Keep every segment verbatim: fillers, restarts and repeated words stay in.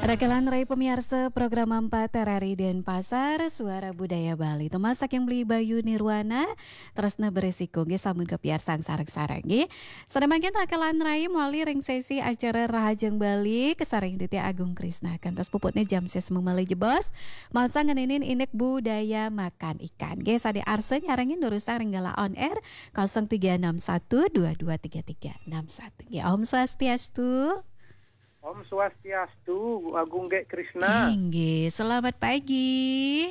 Raka lan rai pamiarsa program empat R R I Denpasar, Suara Budaya Bali. Tembang saking Beli Bayu Nirwana, Tresna Beresiko, nggih, sampun kapiarsang sareng-sareng, nggih. Sadaya mangkin raka lan rai mawali ring sesi acara Rahajeng Bali, kasarengin Titi Agung Krisna. Kantos puputne jam ses malih jebos, maosang ngeninin indik budaya makan ikan. Nggih, sane arsa nyarengin durusang ring galah on air, kosong tiga enam satu dua dua tiga tiga enam satu. Nggih, Om Swastiastu. Om Swastiastu, Agung Gek Krisna. Inggih, selamat pagi.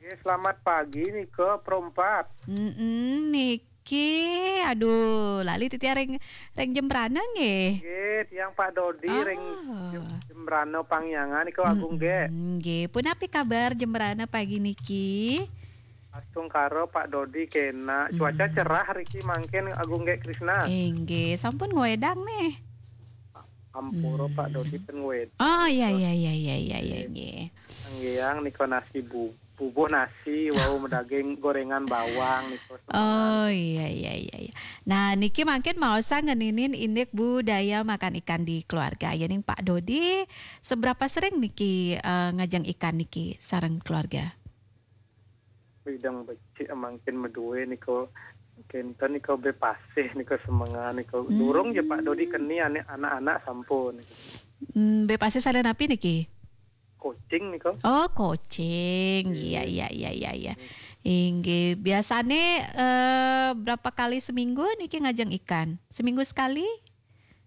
Nggih, selamat pagi nika, Pro Empat. Mm-mm, niki, aduh, lali titi ring, ring Jembrana nggih. Nggih, tiang Pak Dodi ring Oh. Jem-, Jembrana Pangyangan nika, Agung Gek. Mm-mm, nggih, punapi kabar Jembrana pagi niki? Astungkara Pak Dodi kena. Cuaca Hmm. cerah riki mangkin, Agung Gek Krisna. Inggih, sampun ngwedang nih. Ampura Pak Hmm. Dodi ten ngwedang. Oh, iya, nika. Iya, iya, iya, iya, iya, Nggih. Nggih. Nggih, yang nika nasi bu-, bubuh nasi, wau medaging gorengan bawang nika. Oh, iya, iya, iya, iya. Nah, niki mangkin maosang ngeninin indik budaya makan ikan di keluarga. Yening Pak Dodi, seberapa sering niki, eh, ngajeng ikan niki sareng keluarga? Widang becik mangkin madue nika, kenten nika be pasih nika semengan nika. Hmm. Durung ja Pak Dodi keni ane anak-anak sampun nika. Hmm, be pasih sare napi niki? Kocing nika. Oh, kocing. Iya, Iya. iya, iya, iya, iya. Hmm. Inggih, biasane, eh, berapa kali seminggu niki ngajeng ikan? Seminggu sekali?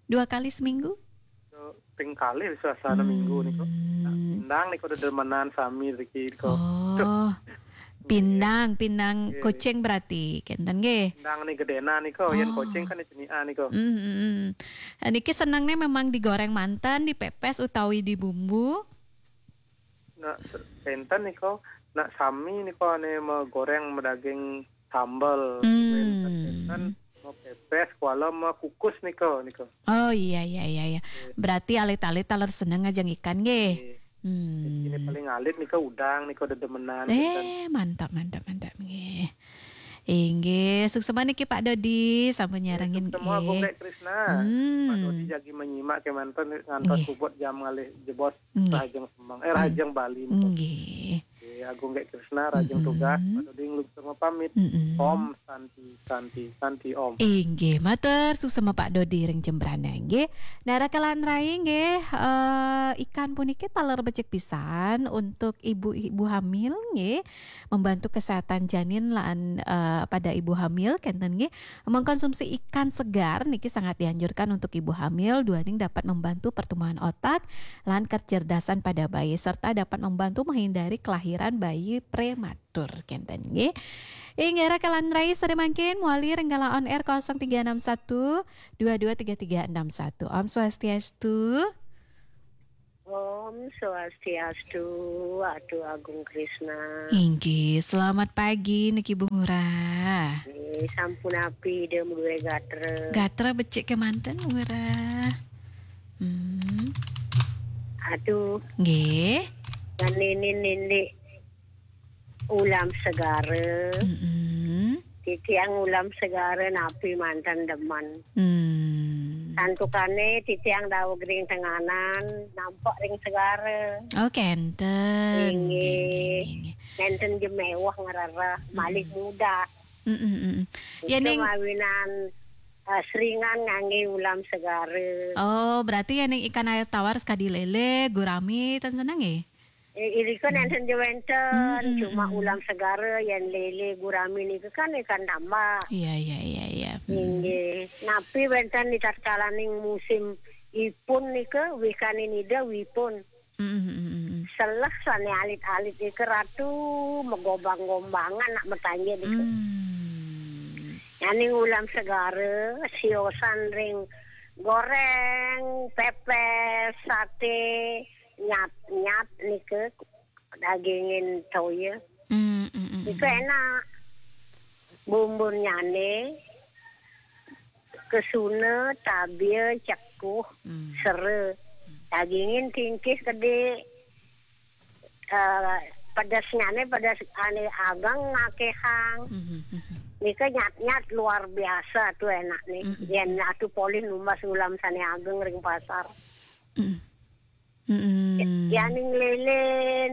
Dua kali seminggu? Ping kalih suasana minggu nika. Hmm. Nah, pindang nika dedemenan sami riki nika. Oh. Duh. Pindang, pindang Nggih. Kocing berarti, kenten nggih? Pindang nika gedenan nika, yen Oh. kocing kan cenian nika. Hmm, hmm, hmm. Niki senengne memang digoreng manten, dipepes utawi dibumbu? Nah, se-, kenten nika, nak sami nika ane magoreng madaging sambel. Hmm. Kenten, kenten mapepes kuala makukus nika, nika. Oh, iya, iya, iya, iya. Nggih. Berarti alit-alit taler seneng ngajeng ikan nggih? Nggih. Hmm. Ini paling alit nika udang nika dedemenan, kenten. Eh, mantap, mantap, mantap nggih. Inggih, suksma niki Pak Dodi, sampun Nggih, nyarengin suksma, Agung nggih. Gek Krisna. Hmm. Pak Dodi jagi menyimak kemanten ngantos Nggih. puput jam ngalih jebos Nggih. Rahajeng Semeng, eh, Hmm. Rahajeng Bali nggih. Nggih. Nggih, Agung Gek Krisna, Rahajeng Mm-mm. Tugas, Pak Dodi nglungsur pamit. Mm-mm. Om Santi, Santi, Santi Om. Inggih, matur suksma Pak Dodi ring Jembrana nggih. Nah, raka lan rai nggih, eh, ikan puniki taler becik pisan untuk ibu-ibu hamil nggih, membantu kesehatan janin lan, eh, pada ibu hamil kenten nggih. Mengkonsumsi ikan segar niki sangat dianjurkan untuk ibu hamil, duaning dapat membantu pertumbuhan otak lan kecerdasan pada bayi, serta dapat membantu menghindari kelahiran bayi prematur, kenten nggih. Inggih, raka lan rai sare mangkin mawali ring galah on air kosong tiga enam satu dua dua tiga tiga enam satu. Om Swastiastu. Om Swastiastu, Atu Agung Krisna. Inggih, selamat pagi niki Bu Ngurah. Nggih, sampun napi Ida madue gatra? Gatra becik kemanten, Bu Ngurah. Hmm. Atu. Nggih. Ngeninin indik ulam segara. Mm-mm. Titiang ulam segara napi manten demen. Hmm. Santukane titiang daweg ring tenganan, nampek ring segara. Oh, kenten. Inggih. Nggih, nggih, nggih. Nenten ja mewah ngrereh, malih Hmm. mudah. Mm-mm, mm-mm. Nika Yening mawinan, eh, seringan ngangge ulam segara. Oh, berarti yening ikan air tawar sekadi lele, gurami, ten seneng nggih? Eh, irika Hmm. nenten ja wenten, Mm-mm, cuma mm. ulam segara, yen lele, gurami nika kan ikan tambak. Iya, iya, iya, iya. Hmm. Inggih. Napi wenten di tatkalaning musim ipun nika, wikanin Ida wipun. Mm, mm, mm, mm. Seleh sane alit-alit nika Ratu, megobang-gombangan nak matanje nika. Hmm. Nyaning ulam segara, siosan ring goreng, pepes, sate, nyat-nyat nika, dagingin toya. Mm, mm, mm, Nika mm. enak. Bumbunnyane, kesuna, tabia, cekuh, Hmm. sera. Dagingin tingkih kedi, eh, pedesnyane pedes ane ageng ngakehang. Mhm, mhm. Nika nyat-nyat luar biasa tu enak nih. Mhm. Yen atu polih numbas ulam sane ageng ring pasar. Mhm. Mhm. Yaning lele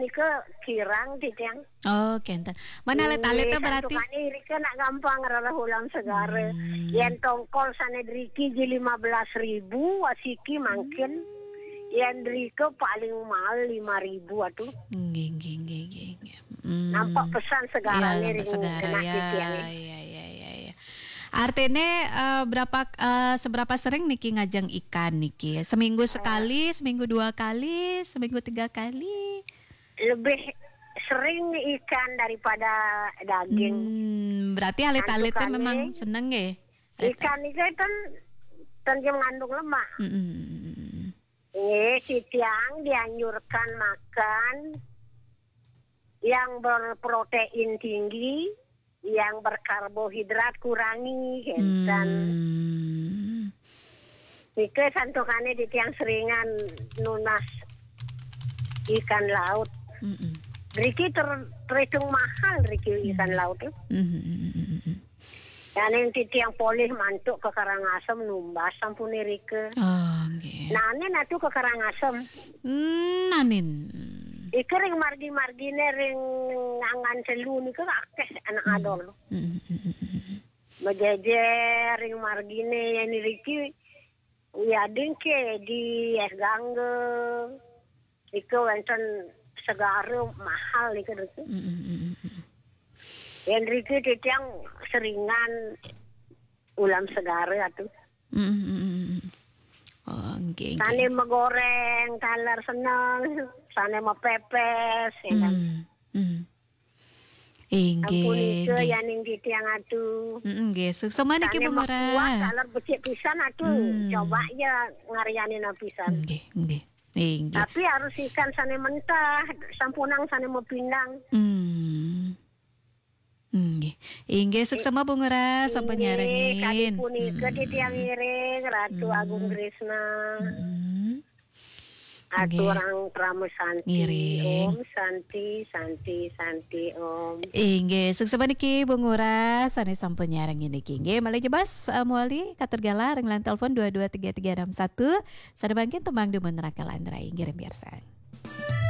nika kirang titiang. Oh, kenten. Mana alit-alit berarti? Santukane irika nak gampang rereh ulam segara. Hmm. Yen tongkol sane driki ji lima belas ribu, asiki mangkin. Hmm. Yen drika paling mahal lima ribu atuh. Nggih, nggih, nggih, nggih, nggih. Hmm. Nampak pesan segarane. Iya, nampak ring segara, anak ya. Titiang. Iya, iya, iya, iya. Artine, eh, berapa, eh, seberapa sering niki ngajeng ikan niki? Seminggu sekali, seminggu dua kali, seminggu tiga kali? Lebih sering ikan daripada daging. Hmm, berarti alit-alitnya santukane memang seneng nggih? Ikan itu kan tentu mengandung lemak. Mm-mm. Nggih, titiang dianjurkan makan yang berprotein tinggi, yang berkarbohidrat kurangi, kenten. Hmm. Nika santukane titiang seringan nunas ikan laut. Mm-mm. Driki ter-, terhitung mahal driki ikan laut. Mm-mm. Dane titiang polih mantuk ke Karangasem numbas sampun irika. Oh, nggih. Nanin atuh ke Karangasem. Hmm, nanin. Ika ring margi-margine ring Angan Telu nika akeh anak adol. Mm, mm, mm, mm, mm. Majejer ring margine yen iriki wiadin ke di Es Gangga. Nika wenten segara mahal nika driki. Mm, mm, mm, mm, mm. Yen driki titiang seringan ulam segara atuh. Mm, mm, mm, mm. Oh, nggih, nggih. Sane megoreng taler seneng, sane mepepes, ya kan. Mm, mm. Inggih, ampun nika nggih. Yaning titiang atuh. Mm, nggih, suksma niki, sane Bu Ngurah. Mekuah taler becik pisan atuh. Hmm. Coba ya ngaryanin pisan. Nggih, nggih. Inggih. Tapi harus ikan sane mentah, sampunang sane mepindang. Hmm. Nggih. Inggih, suksma Bu Ngurah, sampun nyarengin. Inggih, kadi punika titiang ngiring, Ratu Agung Kresna. Mm. Nggih. Aturang Parama Santi. Ngiring. Om Santi, Santi, Santi, Om. Inggih, suksma niki Bu Ngurah, sane sampun nyarengin niki. Nggih, malih jebos, eh, mewali katur galah ring line telepon dua dua tiga tiga enam satu. Sane mangkin tembang dumun Raka lan Rai, nggih, ring piarsang.